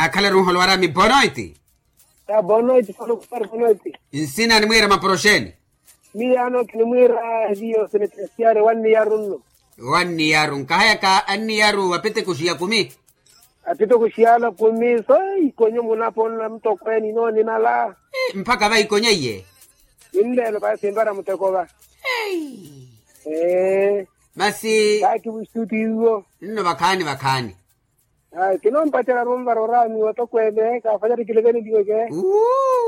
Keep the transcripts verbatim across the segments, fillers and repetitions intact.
Akhalaru nholowaraami bonoiti. Bonoiti. Nsina animwiira maporoxeni? Miyaano kinimwiira hiyo senetresiare wanniyaru nno. Wanniyaru nkahayaka anniyaru apitekuxiya kumi. Apitekuxiyala kumi so ikonyo munapo nna mutokweene inoonimala. Mpakha vaikonya iye. Ninleelo paya sinvara muteko va. Masi. Kakiwuxutiiwo. Nno vakhaani vakhaani. Kinompacela runvara oraamiwa tokweene kaafanyari kileveneliweke.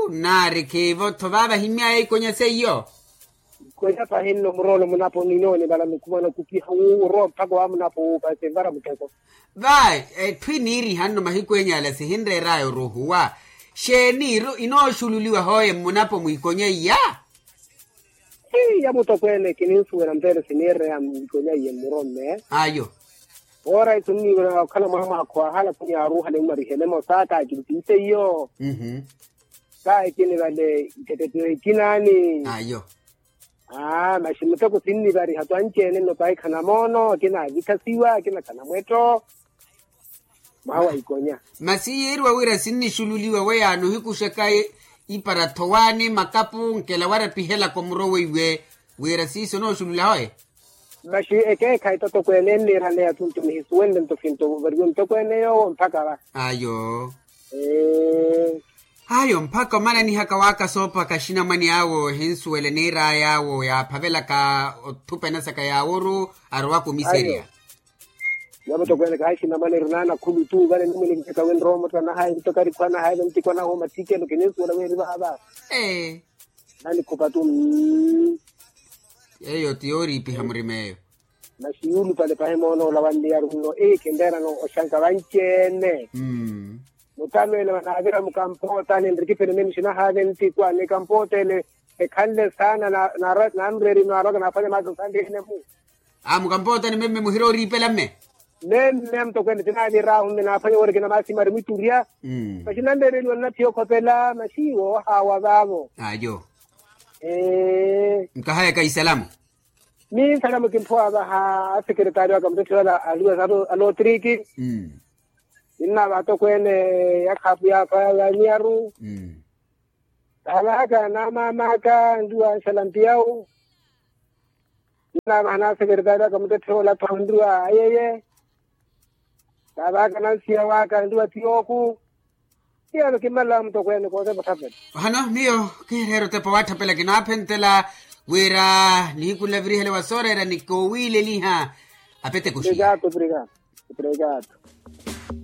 Nnaari khiivo-tho vaava himmyaya ikonya seiyo. Ikonya pahi nno muroolo munapo ninoone vala nikuva nakupiha wu orowa mpakha wa munapo wu pasinvara muteko. Va etthu iniiriha nno mahiku enyala sihinreeraya oruhuwa. Xeeni inooxululiwa hooye mmunapo mwiikonya iya. Iya mutokweene kininsuwela mpeele siniireya mwiikonya iye mmuromme. Ayo. Oora isu nniiwela okhala mwaha mwaakho ahala khuniyaaruuhale mmarihele emosa kaakilitiise iyo. Kaakini vale iketettelo ekinaani. Ayo. Aa masi muteko sinnivariha twanci-ene nno pahi khanamoono akina avikhasiwa akina khanamwetto. Mwaha wa ikonya. Masi yiiriwa wira sinnixululiwa weyaano ohikuxaka ipara thowaani makapu nkela warapihelaka omuro weiwe. Wira siiso onooxulula hoye. Masi ekeekhayi totokweene enniiraneya tuntu nihisuwenle nto finto ovariwe mutokweene yoowo mpakha va. Ayo. Ayo mpakha omananihaka waaka soopaka axinamwane awo ehinsuwele niir'aya awo yaaphavelaka othupena saka yaaworu arowaka omiserya. Namutokweene kahaxinamwane eri naana khulu tu vale nimwene kinteka wenrowa omottanahayi nto karikhwanahayi ventiko anahooma thikelo kininsuwela weeri vaava. Nanikhupa tu. Eyo ti yooriipiha murima eyo. Masi yuulupale pahi moona ola wanniyaru nno ii kinreerana oxanka vanci-ene. Mutamene vanaavira mukampootani nrikipene mene xinahaave ntikwa ni kampootene. Ekhanle saana nanreeri naarwaka naafanya maasi osanrihene-mu. Aa mukampootani memme muhira oriipela mme. Memme amutokweene tinaavir'ahu mme naafanya woorikina maasi mari mwiturya. Masi nanreereliwa nnathiya okhopela masi woohaawa vaavo. Ayo. Nkahayaka isalamu. Minsalamu kimphowa vaha asekeretari waka mutotthela aliwa alotriki. Ninnaava atokweene ya khaapu yaakha ya niyaru. Vaavahaka naamaamaka nluwa anxala mpiyawu. Ninnaava hana asekeretari waka mutotthela olatha onluwa ayeye. Vaavahaka nansiya waka nluwa tiyooku. Iyano kimmalala mutokweene kootepa otthapela. Ohano miyo kihireera otepa owatthapela kinaaphentela wira nihiku nlavirihele wa sooreera ni koowiileliha. Apetekuxiya. Obrigado.